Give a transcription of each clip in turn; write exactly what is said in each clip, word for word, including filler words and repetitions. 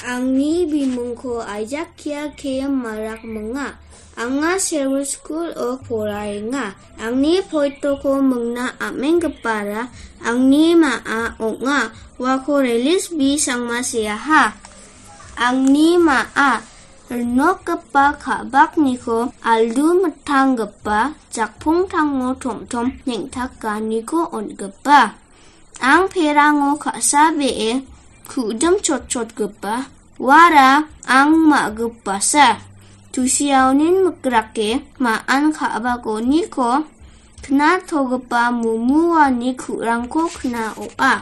Angni bimungko Aizakia K M Marak minga. Anga Sherwood School-o poraenga. Angni poitoko mingna am·enggipara angni ma·a ong·a. Uako Relis B Sangma seaha. Angni ma·a rinokgipa ka·bakniko aldu mittanggipa jakpongtango tom·tom neng·takaniko on·gipa. Ang perango ka·sa be·e ku·dim chotchotgipa, uara ang ma·gipasa. Tusiaonin mikrake ma·an ka·bakoniko knatogipa mumuani ku·rangko knaoa.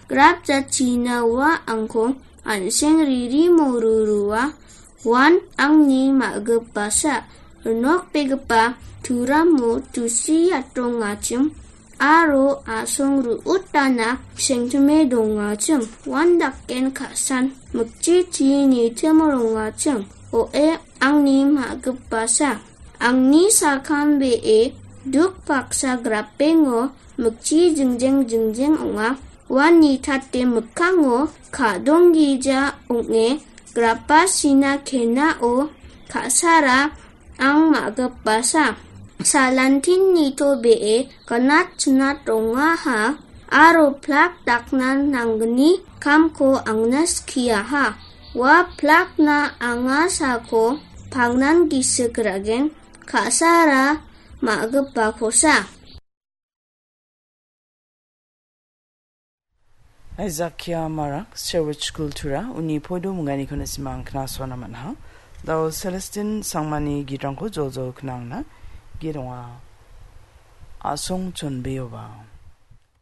Grap jatchina ua angko an·seng riri morurua. Uan angni ma·gipasa, rinokbegipa turamo tusi atongachim aro asong ru·utana sengtime dongachim. Uan daken ka·san mikchichi nitim rongachim. O·e, angni ma·gipasa. Angni sakan be·e duk paksa grapengo mikchi jingjeng jingjeng ong·a. Uan nitate mikkango ka·donggija ong·e grapa sina kenao ka·sara ang ma·gipasa. Salantin nitobee gnat chnat rongaha aro plak dakna nanggni kamko angna skiaha. Ua plakna anga sako pangnan gisik ra·gen, ka·sara ma·gipakosa. Aizakia Marak, Sherwood School Tura, uni poido mingganiko nisimang knasona man·ha. Dao Celestine Sangmani gitrangko joljol knangna gironga. Asong chonbeoba.